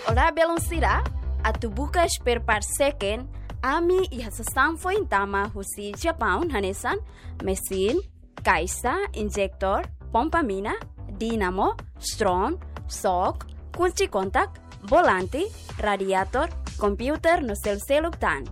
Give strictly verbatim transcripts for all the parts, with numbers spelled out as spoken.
Olá, belun sira. Atu buka spare part second, ami iha sasán foin tama husi Japaun hanesan mesin, kaixa, injektór, pompa mina, dínamo, stron, sok, kunci kontak, volante, radiator, kompiuter no seluk-seluk tan.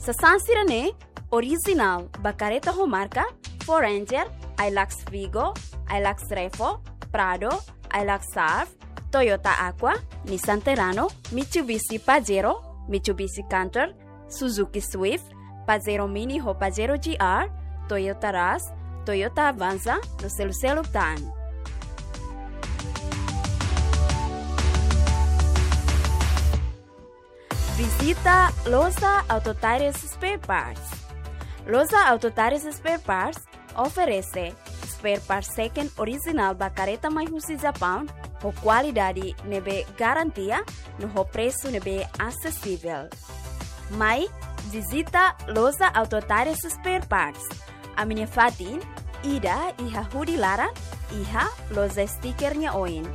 Sasán sira-ne'e orijinál ba kareta ho marka Ford Ranger, Hilux Vigo, Hilux Revo, Prado, Hilux Surf, Toyota Aqua, Nissan Terrano, Mitsubishi Pajero, Mitsubishi Canter, Suzuki Swift, Pajero Mini ho Pajero G R, Toyota Rush, Toyota Avanza no seluk-seluk tan. Vizita Loja Auto Tires Spare Parts. Loja Auto Tires Spare Parts oferese spare part second orijinál ba kareta mai husi Japaun, ho kualidade ne'ebé garantia no ho presu ne'ebé asesivel. Mai vizita Loja Auto Tires Spare Parts. Ami-nia fatin ida iha hudi laran, iha loja stiker nia oin.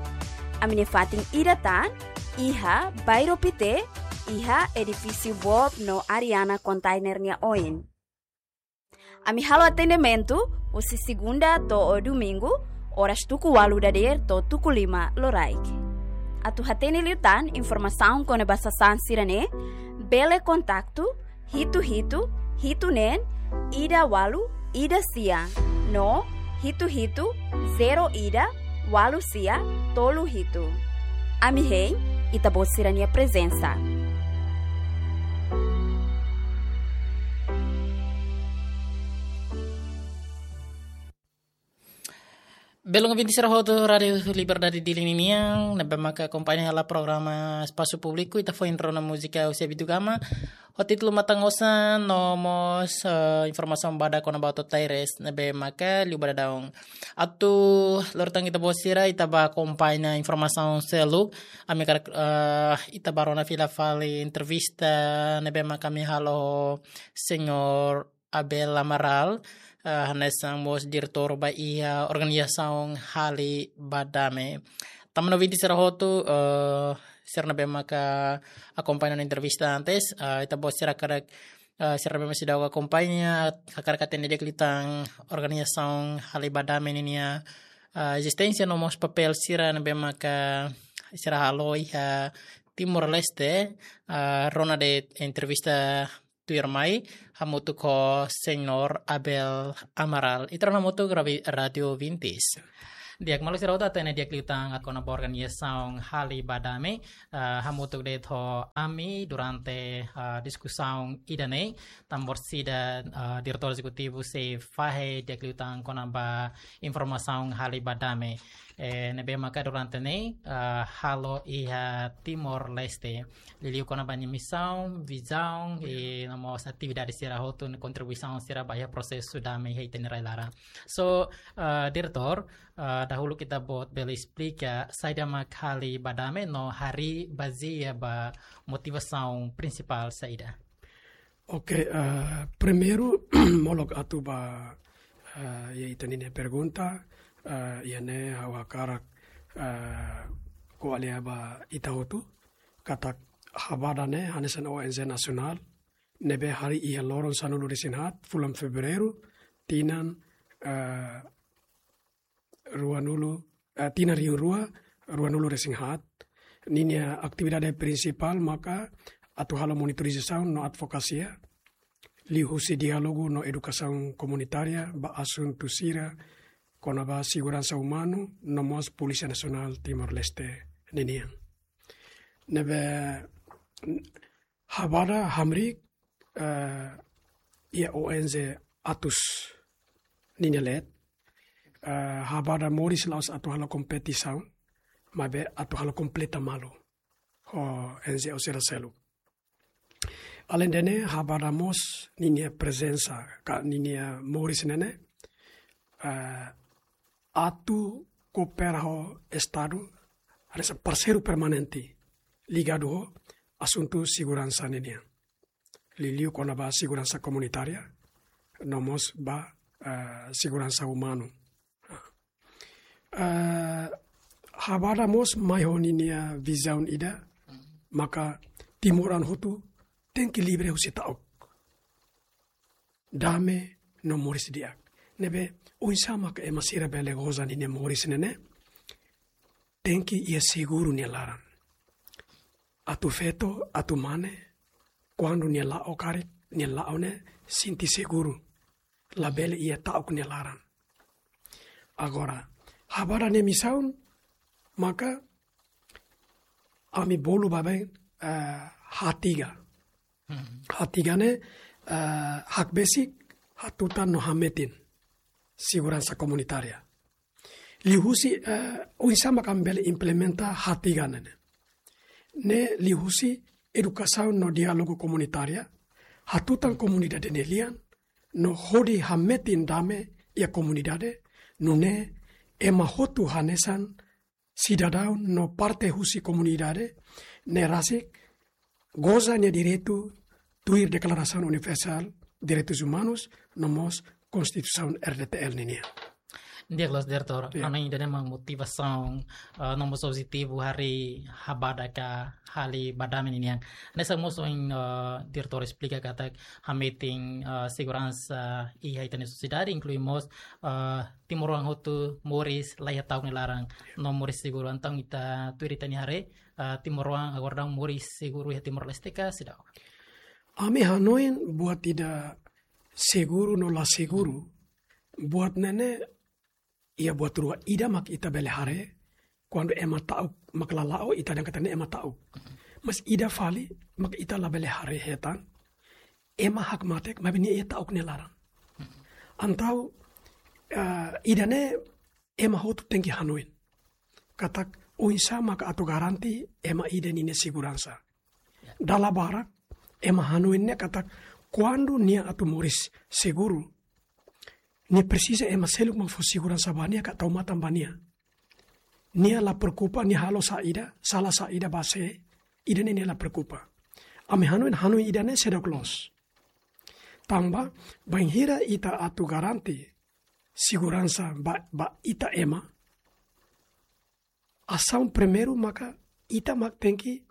Ami-nia fatin ida tan iha Bairro Pité, iha edifísiu Bob no Ariana Container nia oin. Ami halo atendimentu husi segunda to'o domingu, oras tuku ualu dadeer to'o tuku lima loraik. Atu hatene liután informasaun kona-ba sasán sira-ne'e, bele kontaktu hitu hitu, hitu neen, ida ualu, ida sia, no hitu hitu, zero ida, ualu sia, tolu hitu. Ami hein ita-boot sira-nia prezensa. Belun ouvinte sira hotu Rádio Liberdade Dili ninian, ne'ebé maka akompaña hela programa Espasu Públiku, ita foin rona múzika husi Abidugama, ho títulu Matan Osan, no mós, eh, informasaun badak kona-ba Auto Tires, ne'ebé maka liu ba daudaun. Atu lori tan ita-boot sira, ita bá akompaña informasaun seluk, ami hakarak, eh, ita bá rona fila fali entrevista, ne'ebé maka ami halo ho señór Abel Amaral, eh, hanesan mós diretór ba iha organizasaun Hali ba Dame. Tanba ouvinte sira hotu, eh, sira ne'ebé maka akompaña ona entrevista antes, eh, ita-boot sira hakarak, eh, sira ne'ebé maka seidauk akompaña, hakarak hatene di'ak liután organizasaun Hali ba Dame ninia, eh, ezisténsia no mós papél sira ne'ebé maka sira halo iha Timor-Leste, eh, rona de'it entrevista tuirmai, hamutuk ho señór Abel Amaral. Ita rona hamutuk, rabi-, rádio ouvintes. Di'ak, maluk sira hotu, hatene di'ak liután kona-ba organizasaun Hali ba Dame, eh, hamutuk de'it ho ami durante, eh, diskusaun ida-ne'e, tanba orsida, eh, diretór ezekutivu sei fahe di'ak liután kona-ba informasaun Hali ba Dame. Eh, ne'ebé maka durante ne'e, eh, halo iha Timor-Leste. Liuliu kona-ba nia misaun, vizaun, i no mós atividade sira hotu, no kontribuisaun sira ba iha prosesu dame iha ita-nia rai-laran. So, eh, diretór, eh, dahuluk ita-boot bele esplika saida mak Hali ba Dame no harii bazeia ba motivasaun prinsipál saida? Oke, eh, primeiru, molok atu ba, eh, iha ita-nia pergunta, eh, iha ne'e ha'u hakarak, eh, ko'alia ba ita hotu, katak Habada ne'e hanesan O N G nasionál, ne'ebé harii iha loron sanulu-resin-haat, fulan Fevereiru, tinan, eh, ruanulu, eh, tinan rihun rua, ruanulu-resin-haat, ninia atividade prinsipál maka atu halo monitorizasaun no advokasia, liuhusi diálogu no edukasaun komunitária ba asuntu sira kona-ba seguransa umanu no mós Polísia Nasionál Timor-Leste ninian. Ne'ebé Habada hamriik, eh, iha O N G atus ninia leet, eh, Habada moris la'ós atu halo kompetisaun, maibé atu halo kompleta malu ho N G O sira seluk. Aleinde ne'e, Habada mós ninia prezensa, ka ninia moris ne'e ne'e, eh, atu koopera ho Estadu, hanesan parseiru permanente, ligadu ho asuntu seguransa ninian. Liuliu kona-ba seguransa komunitária, no mós ba, eh, seguransa umanu. Eh, Habada mós mai ho ninia vizaun ida, maka timoroan hotu tenke livre husi ta'uk. Dame no moris di'ak. Ne'ebé, oinsá maka ema sira bele goza ninia moris ne'e ne'e, tenke iha seguru nia laran. Atu feto, atu mane, kuandu nia la'o karik, nia la'o ne'e sente seguru. Labele iha ta'uk nia laran. Agora, Habada nia misaun, maka ami bolu baibain, eh, H tiga. Hmm. H tiga ne'e, eh, hakbesik, hatutan no hametin seguransa komunitária. Liuhusi, eh, oinsá maka ami bele implementa H tiga ne'e ne'e. Ne'e liuhusi edukasaun no diálogu komunitária, hatutan komunidade nia lian, no hodi hametin dame iha komunidade, nune'e ema hotu hanesan sidadaun no parte husi komunidade ne'e rasik goza nia direitu tuir Deklarasaun Universál Direitus Umanus no mós Konstituisaun R D T L ninian. Di'ak loos, Diretór. Ya. Hanoin ida-ne'e mak motivasaun, eh, no mós objetivu harii Habada ka hali ba dame ninian. Hanesan mós ohin, eh, Diretór esplika katak hametin, eh, seguransa iha ita-nia sosiedade, inklui mós, eh, timoroan hotu moris la iha ta'uk nia laran, no moris seguru. Entaun ita tuir ita-nia haree, eh, timoroan agora daudaun moris seguru iha Timor-Leste ka seidauk? Ami hanoin buat ida seguru no la seguru, buat ne'e ne'e iha buat rua. Ida mak ita bele haree, kuandu ema ta'uk mak la la'o, ita dehan katak ne'e ema ta'uk. Mas ida fali mak ita labele haree hetan, ema hakmatek maibé nia iha ta'uk nia laran. Entaun, eh, ida-ne'e ema hotu tenke hanoin katak oinsá maka atu garante ema ida ninia seguransa. Dala barak ema hanoin ne'e katak kuandu nia atu moris seguru, nia presiza ema seluk mak fó seguransa ba nia ka tau matan ba nia. Nia la preokupa nia halo saida, sala saida ba sé, ida-ne'e nia la preokupa. Ami hanoin, hanoin ida-ne'e seidauk loos. Tanba, bainhira ita atu garante seguransa ba, ba ita ema, asaun primeiru maka ita mak tenke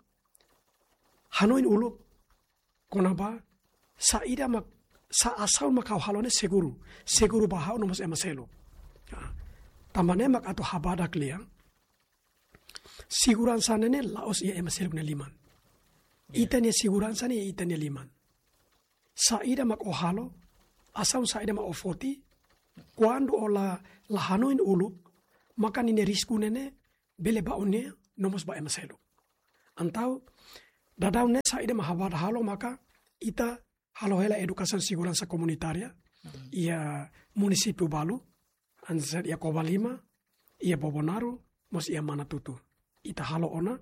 hanoin uluk kona-ba saida mak, sá asaun mak ha'u halo ne'e seguru, seguru ba ha'u no mós ema seluk. Ah, tanba ne'e mak atu Habada klean, seguransa ne'e ne'e la'ós iha ema seluk nia liman. Ya. Ita-nia seguransa ne'e ita-nia liman. Saida mak ó halo, asaun saida mak ó foti, kuandu ó la, la hanoin uluk, maka ninia risku ne'e ne'e bele ba ó-nia no mós ba ema seluk. Entaun, daudaun ne'e saida mak Habada halo maka ita halo hela edukasaun seguransa komunitária, hmm, iha munisípiu balu, hanesan iha Covalima, iha Bobonaro, mós iha Manatuto. Ita halo ona,